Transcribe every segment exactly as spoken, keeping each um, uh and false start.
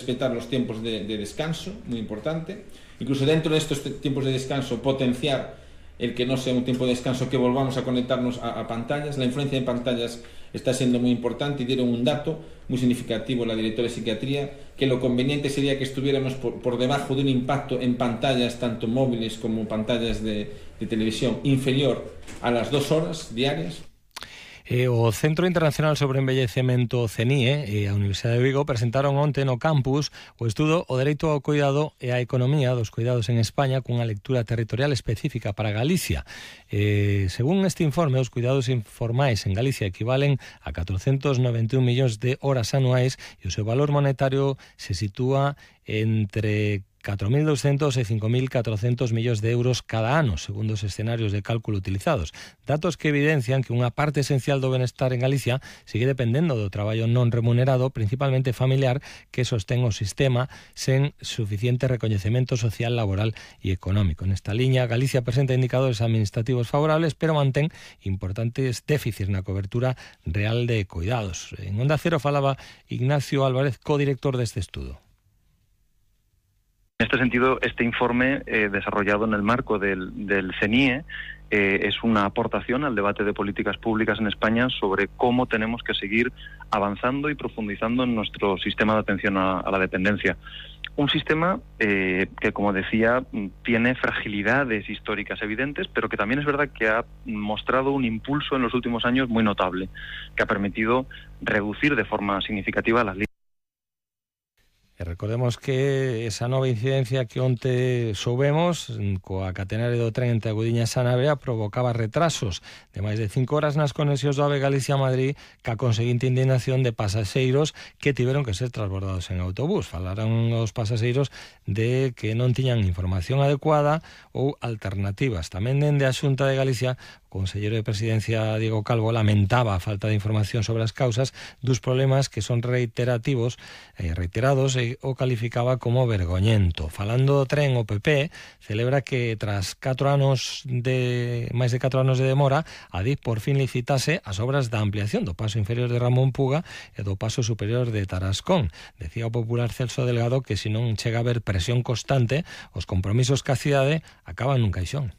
respetar los tiempos de, de descanso, muy importante. Incluso dentro de estos tiempos de descanso, potenciar el que no sea un tiempo de descanso, que volvamos a conectarnos a, a pantallas. La influencia en pantallas está siendo muy importante y dieron un dato muy significativo la directora de psiquiatría, que lo conveniente sería que estuviéramos por, por debajo de un impacto en pantallas, tanto móviles como pantallas de, de televisión, inferior a las dos horas diarias. E o Centro Internacional sobre Envellecemento C N I E e a Universidade de Vigo presentaron onte no campus o estudo O dereito ao cuidado e a economía dos cuidados en España cunha lectura territorial específica para Galicia. Eh, según este informe, os cuidados informais en Galicia equivalen a catrocentos noventa e un millóns de horas anuais e o seu valor monetario se sitúa entre catro mil doscientos e cinco mil catrocentos millóns de euros cada ano, segundo os escenarios de cálculo utilizados. Datos que evidencian que unha parte esencial do benestar en Galicia sigue dependendo do traballo non remunerado, principalmente familiar, que sostén o sistema sen suficiente recoñecemento social, laboral e económico. Nesta liña, Galicia presenta indicadores administrativos favorables, pero mantén importantes déficits na cobertura real de cuidados. En Onda Cero falaba Ignacio Álvarez, codirector deste estudo. En este sentido, este informe eh, desarrollado en el marco del, del C N I E eh, es una aportación al debate de políticas públicas en España sobre cómo tenemos que seguir avanzando y profundizando en nuestro sistema de atención a, a la dependencia. Un sistema eh, que, como decía, tiene fragilidades históricas evidentes, pero que también es verdad que ha mostrado un impulso en los últimos años muy notable, que ha permitido reducir de forma significativa las listas. E recordemos que esa nova incidencia que onte soubemos coa catenaria do tren entre Agudiñas e Navea provocaba retrasos de máis de cinco horas nas conexións do AVE Galicia-Madrid, ca conseguinte indignación de pasaxeiros que tiveron que ser transbordados en autobús. Falaron os pasaxeiros de que non tiñan información adecuada ou alternativas. Tamén dende a Xunta de Galicia, o conselleiro de Presidencia Diego Calvo lamentaba a falta de información sobre as causas dos problemas que son reiterativos e reiterados e o calificaba como vergoñento. Falando do tren, o P P celebra que tras catro anos de máis de catro anos de demora, a D I F por fin licitase as obras da ampliación do paso inferior de Ramón Puga e do paso superior de Tarascón. Decía o popular Celso Delgado que se non chega a haber presión constante, os compromisos que a cidade acaban nun caixón.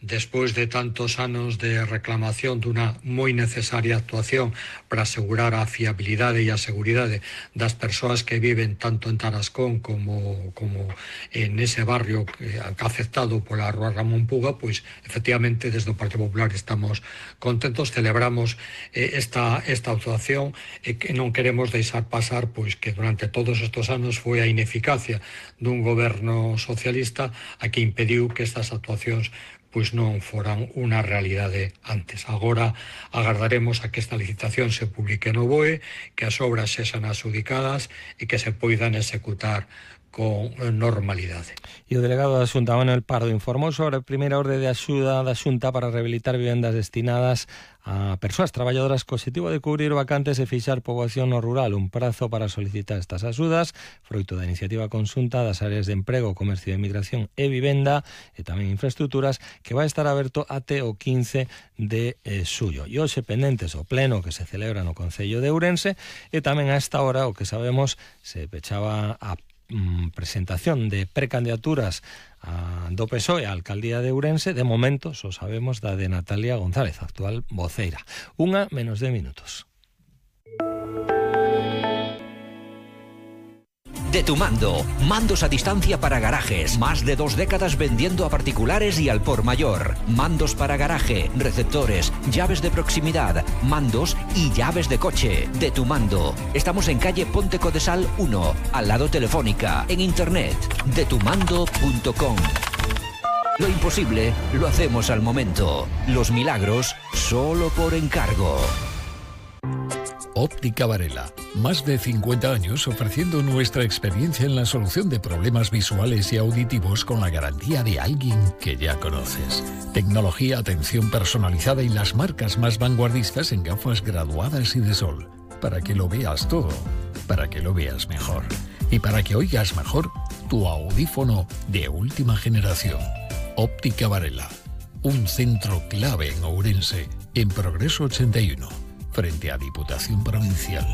Despois de tantos anos de reclamación dunha moi necesaria actuación para asegurar a fiabilidade e a seguridade das persoas que viven tanto en Tarascón como, como en ese barrio que afectado pola Rúa Ramón Puga, pois efectivamente desde o Partido Popular estamos contentos, celebramos eh, esta, esta actuación e que non queremos deixar pasar pois que durante todos estes anos foi a ineficacia dun goberno socialista a que impediu que estas actuacións pois non foran unha realidade antes. Agora agardaremos a que esta licitación se publique no B O E, que as obras sexan adxudicadas e que se poidan executar con normalidade. E o delegado da Xunta, Manuel Pardo, informou sobre a primeira orde de axuda da Xunta para rehabilitar vivendas destinadas a persoas traballadoras co objetivo de cubrir vacantes e fixar poboación no rural. Un prazo para solicitar estas axudas, froito da iniciativa conxunta das áreas de emprego, comercio e migración e vivenda e tamén infraestructuras, que vai estar aberto até o quince de xullo. E hoxe pendentes o pleno que se celebra no Concello de Ourense e tamén a esta hora, o que sabemos, se pechaba a presentación de precandidaturas a, do P S O E a Alcaldía de Ourense. De momento só sabemos da de Natalia González, actual voceira. Unha menos de minutos. De Tu Mando, mandos a distancia para garajes, más de dos décadas vendiendo a particulares y al por mayor. Mandos para garaje, receptores, llaves de proximidad, mandos y llaves de coche. De Tu Mando. Estamos en calle Ponte Codesal uno, al lado Telefónica, en internet, de tu mando punto com. Lo imposible lo hacemos al momento. Los milagros solo por encargo. Óptica Varela, más de cincuenta años ofreciendo nuestra experiencia en la solución de problemas visuales y auditivos con la garantía de alguien que ya conoces. Tecnología, atención personalizada y las marcas más vanguardistas en gafas graduadas y de sol. Para que lo veas todo, para que lo veas mejor. Y para que oigas mejor, tu audífono de última generación. Óptica Varela, un centro clave en Ourense, en Progreso ochenta y uno. Frente a Diputación Provincial.